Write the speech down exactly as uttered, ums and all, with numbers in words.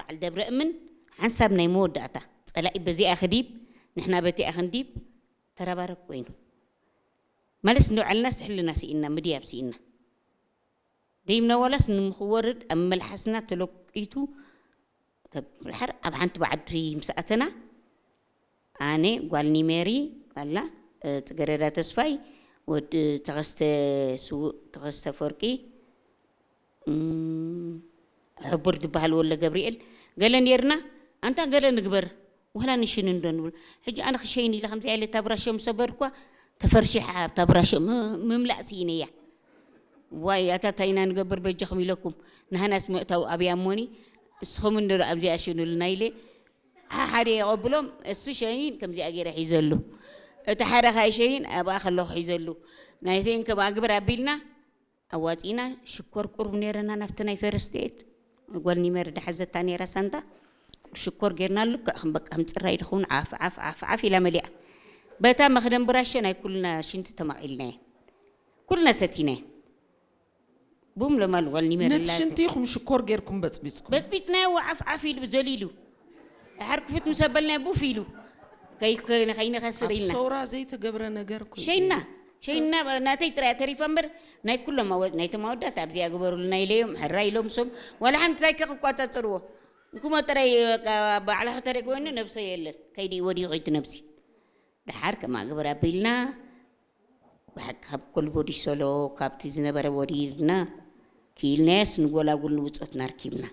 በዐል ደብረ እምን ሐንሳብ ናይ መወዳእታ፣ ጸላኢ በዚኣ ክዲብ፣ ንሕና በቲኣ ክንዲብ፣ ተረባረብ ኮይኑ። መልስ እንዶ ዐልናስ ሕልና ስኢና፣ ምድያብ ስኢና። ደይምነ ወላስ ንምክወርድ ኣብ መልሐስና ተለቂቱ፣ ከብሐር ኣብ ሓንቲ በዓዲ ምስ ኣተና፣ ኣነ፣ ጓል ኒሜሪ፣ ጓልና፣ እ፣ ጽገረዳ ተስፋይ፣ ወድ ተኸስተ ስዉእ፣ ተኸስተ ፈርቂ፣ እም፣ ሕቡር ዝበሃል ወለ ገብርኤል፣ ገለ ኔርና፣ ኣንታ ገለ ንግበር፣ ወላ ንሽን እንዶ ንብል። ሕጂ ኣነ ክሸይን ኢለ ከምዚ ኣይለ ታብራሾም ሰበርኳ፣ ተፈርሺሓ ኣብ ታብራሾም ም-፣ ምምላእ ስኢነያ። ዋይ፣ ኣታ ታይ ኢና ንገብር በጃኹም ኢለኩም፣ ንሃናስ ምእታው ኣብያ እሞኒ፣ እስኹም እንዶ ኣብዚኣ ሽኑልና ኢለ፣ ሓሓደ የቐብሎም፣ እሱ ሸኒን ከምዚኣ ገይረ ሒዘሉ። እቲ ሓደ ካይ ሸኒን ኣብኣ ከለኹ ሒዘሉ። ናይተይን ከም ኣግብር ኣቢልና፣ ኣዋጺእና ሽኮር ቁሩብ ኔረና ናብቲ ናይ ፈርስት ኤድ። ጓል ኒመር ደሓዘታ ኔራ ሳንታ። ሽኮር ጌርናሉ፣ ልክዕ ከም በቃ ከም ጽራይ ድኸውን ዓፍ፣ ዓፍ፣ ዓፍ፣ ዓፍ ኢላ መሊኣ። በታ መኽደን ብራሸ ናይ ኩልና ሽንቲ ተማቒልናየን። ኩልና ሰቲናየን። ቡም ለማል ጓል ኒመር ነቲ ላተ። ሽንቲ ኢኹም ሽኮር ጌርኩም በጽቢጽኩም? በጽቢጽናዮ ዓፍ፣ ዓፍ ኢሉ ዘሊሉ። ደሓር ክፉት ምስ ኣበልናዮ ቡፍ ኢሉ። ከይ-፣ ከይ-፣ ከይነኸስር ኣብ ኢልና። ሰውራ ዘይተገብረ ነገር እኮ እዩ ሸይና፣ ዘይብሉ። ሸይና ናተይ ጥራይ ተሪፋ እምበር፣ ናይ ኩሎም ኣወ-፣ ናይቶም ኣወዳት ኣብዚኣ ግበሩልና ኢለዮም፣ ሕራይ ኢሎም ሶም፣ ዋላ ሓንቲ ታይ ከክቋጻጽርዎ። እንኩሞ ጥራይ በቃ ባዕላ ከተደግ ወይኑ ነብሰ የለን። ከይዲ ወዲቑ እቲ ነብሲ። ደሓር ከማ ግበር ኣቢልና፣ ብሓቂ ካብ ኮልቦ ዲሶሎ፣ ካብቲ ዝነበረ ወሪርና፣ ክኢልናያስ ንጎላጉል ንብጾትና ኣርኪብና።